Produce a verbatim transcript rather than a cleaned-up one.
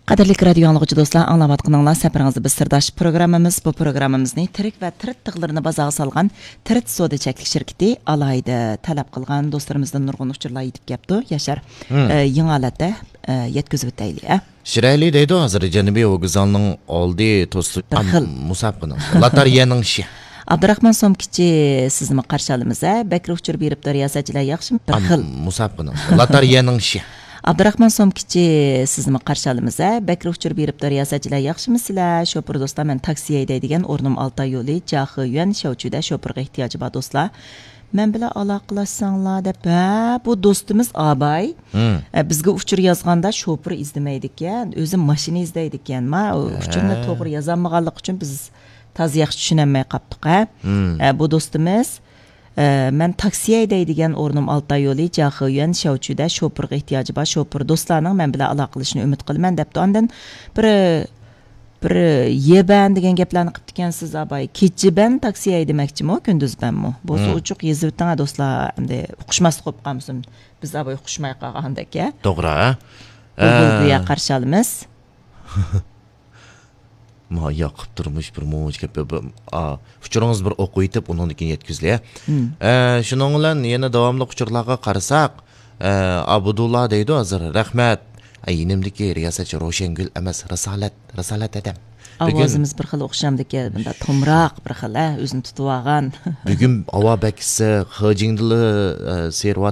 قەدىرلىك رادىيو ئاڭلىغۇچى دوستلار، ئاڭلاۋاتقىنىڭلار سەپىرىڭىزدە بىز سىرداش پروگراممىمىز. بۇ پروگراممىمىزنى تىرىك ۋە تىرىت تىغلىرىنى بازارغا سالغان تىرىت سودا چەكلىك شىركىتى ئالاھىدە تەلەپ قىلغان. دوستلىرىمىزدىن نۇرغۇن ئۇچۇرلار يېتىپ كەپتۇ. ياشار، مم. ئە، يېڭى ھالەتتە، ئە، يەتكۈزۈۋېتەيلى، ئە. شىرەيلى دەيدۇ، ھازىر جەنۇبىي ۋوگزالنىڭ ئالدى توسۇلۇپ، بىر خىل. مۇسابىقىنىڭ. لاتارىيەنىڭ شى. ئابدۇراخمان سومكىچى، سىزنىمۇ قارشى ئالىمىز، ھە؟ بەكرى ئۇچۇر بېرىپتۇ، رىياسەتچىلەر ياخشىمۇ؟ بىر خىل. مۇسابىقىنىڭ. لاتارىيەنىڭ شى. ئابدۇراخمان سومكىچى، سىزنىمۇ قارشى ئالىمىز، ھە؟ بەكرى ئۇچۇر بېرىپتۇ، رىياسەتچىلەر ياخشىمۇ سىلەر؟ شوپۇر دوستلار، مەن تاكسى ھەيدەيدىگەن، ئورنۇم ئالتاي يولى، جياخېيۈەن، شياۋچۈدە شوپۇرغا ئېھتىياجى بار دوستلار. مەن بىلەن ئالاقىلەشسەڭلار دەپ، ھە، بۇ دوستىمىز ئاباي. مم. ئە، بىزگە ئۇچۇر يازغاندا شوپۇر ئىزدىمەيدىكەن، ئۆزى ماشىنا ئىزدەيدىكەن. ما، ئۇ ھە. ئۇچۇرنى توغرا يازالمىغانلىقى ئۈچۈن بىز تازا ياخشى چۈشىنەلمەي قاپتۇق، ھە. مم. ئە، بۇ دوستىمىز، ئە، مەن تاكسى ھەيدەيدىگەن، ئورنۇم ئالتاي يولى، جياخېيۈەن، شياۋچۈدە شوپۇرغا ئېھتىياجى بار شوپۇر دوستلارنىڭ مەن بىلەن ئالاقىلىشىشىنى ئۈمىد قىلىمەن دەپتۇ. ئاندىن بىر بىر يېبەن دېگەن گەپلەرنى قىپتىكەنسىز، ئاباي. كېچە بەن تاكسى ھەيدىمەكچىمۇ، كۈندۈز بەنمۇ؟ بولسا مم. ئوچۇق يېزىۋېتىڭ، ھە، دوستلار. ئەمدى ئۇقۇشماسلىق بولۇپ قالمىسۇن. بىز ئاباي ئۇقۇشماي قالغاندەك، ھە؟ توغرا، ھە؟ بۇلبۇل ئە. گويا قارشى ئالىمىز. ما، ياقۇپ تۇرمۇش بىر مۇنچە گەپ، بىر، ئا، ئۇچۇرىڭىز بىر ئوقۇۋېتىپ، ئۇنىڭدىن كېيىن يەتكۈزلى. مم. ئە، شۇنىڭ بىلەن يەنە داۋاملىق ئۇچۇرلارغا قارىساق، ئە، ئابدۇللا دەيدۇ ھازىر، رەھمەت. ئە، يېنىمدىكى رىياسەتچى روشەنگۈل ئەمەس، رىسالەت، رىسالەت ھەدەم. بۈگۈن ئاۋازىمىز بىر خىل ئوخشامدىكەن، مۇنداق تومراق بىر خىل، ھە، ئۆزىنى تۇتۇۋالغان. بۈگۈن ھاۋا بەك ئىسسىق، خېجىڭدىلا، ئە، سېرىۋاتىدۇ.